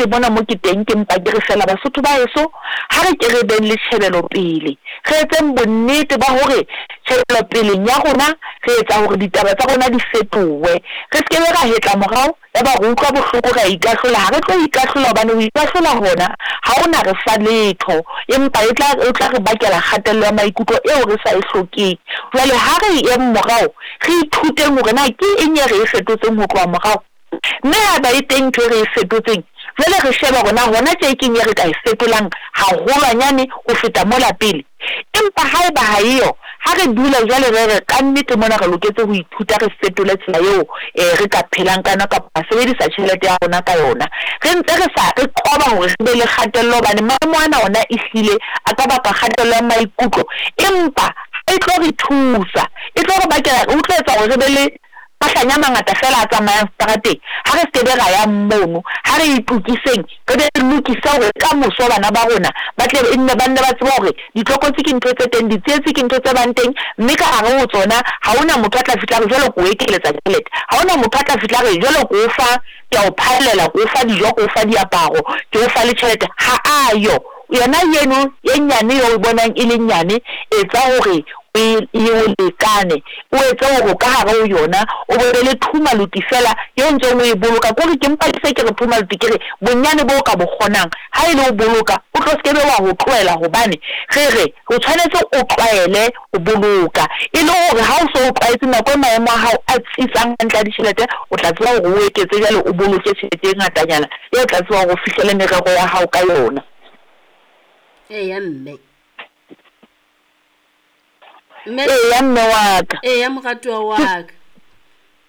Kannete mona mo ke teng ke mpa ke re feela Basotho ba heso ha re ke re beng le tjhebelo pele, re etseng bonnete ba hore tjhebelo peleng ya rona re etsa hore ditaba tsa rona di fetohe. Re se ke be ra hetla morao ya ba re utlwa bohloko re a ikahlola, ha re tlo ikahlola hobane ho ikahlola hona ha ho na re fa letho empa e tla o tla re bakela kgatello ya maikutlo eo re sa e hlokeng. Jwale ha re yeng morao re ithuteng hore na ke eng e re e fetotseng ho tloha morao, mme haeba e teng ntho e re e fetotseng jwale re shebe hore na hona tje keng e re ka e fetolang haholwanyane ho feta mola pele. Empa haeba ha eyo, ha re dule jwale re re, Kannete mona re loketse ho ithuta re fetole tsela eo re ka phelang ka yona kapa ra sebedisa tjhelete ya rona ka yona. Re ntse re sa, re qoba hore re be le kgatello hobane maemo ana ona ehlile a ka baka kgatello ya maikutlo, empa ha e tlo re thusa. E tlo re bakela, ho tlo etsa hore re be le mahlanya a mangata feela a tsamayang seterateng. Ha re se ke be ra yang mono, ha re itokiseng, re be re lokise hore ka moso bana ba rona ba tle e nne ba nne ba tsebe hore ditlokotsi ke ntho tse teng, ditsietsi ke ntho tse bang teng, mme ka hare ho tsona ha ho na motho a tla fihla a re jwale ke o ekeletsa tjhelete. Ha ho na motho a tla fihla a re jwale ke o fa, ke a o phaellela, ke o fa dijo, ke o fa diaparo, ke o fa le tjhelete. Ha a yo. Yona eno e nyane eo o bonang e le nyane, etsa hore o e e o lekane, o etse hore o ka hare ho yona o bo be le thumaluti feela eo ntseng o e boloka. Kore ke mpa ke se ke re thumaluti, ke re bonyane boo o ka bo kgonang ha e le ho boloka, o tlo se ke be wa ho tlohela hobane re re o tshwanetse o tlwaele ho boloka e le hore ha o so o tlwaetse nako e maemo a hao a tsitsang hantle a ditjhelete, o tla tseba hore o eketse jwale o boloke tjhelete e ngatanyana eo o tla tseba hore o fihlele merero ya hao ka yona. Eya mme. Mme. Eya mme wa ka. Eya moratuwa wa ka.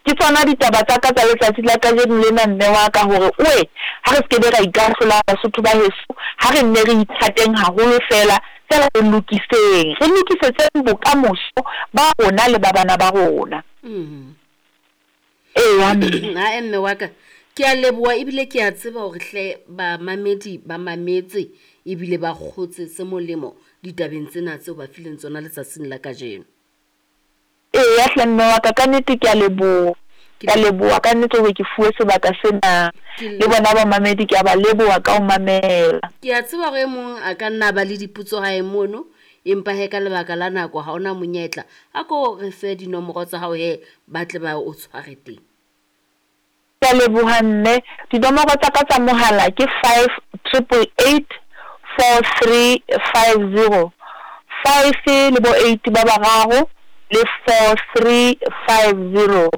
Ke tsona ditaba tsa ka tsa letsatsi la kajeno lena mme wa ka hore oe ha re se ke be ra ikahlola Basotho ba heso, ha re nne re ithateng haholo feela, feela re lokiseng, re lokisetseng bokamoso ba rona le ba bana ba rona. Eya mme. Ae mme wa ka, ke a leboha ebile ke a tseba hore hle bamamedi ba mametse ebile ba kgotse se molemo ditabeng tsena tseo ba fileng tsona letsatsing la kajeno. Eya hle mme wa ka, ka nnete ke a leboha. Ke a leboha ka nnete hore ke fuwe sebaka sena. Le bona bamamedi ke a ba leboha ka ho mamela. Ke a tseba hore e mong a ka nna ba le dipotso hae mono, empa he ka lebaka la nako ha ona monyetla. A ko re fe dinomoro tsa hao he ba tle ba o tshware teng. Ke a leboha mme. Dinomoro tsa ka tsa mohala ke five triple eight four three five zero. Five le bo eight ba bararo le four three five zero.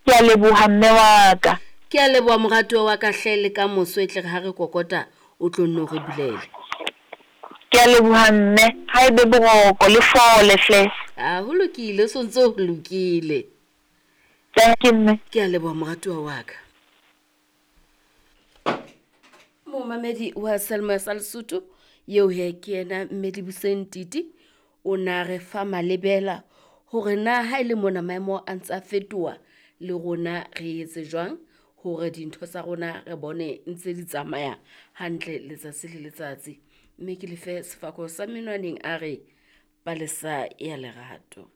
Ke a leboha mme wa ka. Ke a leboha moratuwa wa ka hle le ka moso e tle re ha re kokota o tlo nno re bulele. Ke a leboha mme. Ha e be boroko le fole hle. A ho lokile o sontse ho lokile. Dankie mme. Ke a leboha moratuwa wa ka. Momamedi wa Selma sa Lesotho eo he ke yena mme Libuseng Titi o na re fa malebela hore na ha e le mona maemo a ntse a fetoha le rona re etse jwang hore dintho tsa rona re bone ntse di tsamaya hantle letsatsi le letsatsi. Mme ke lefe sefako sa menwaneng a re palesa ya lerato.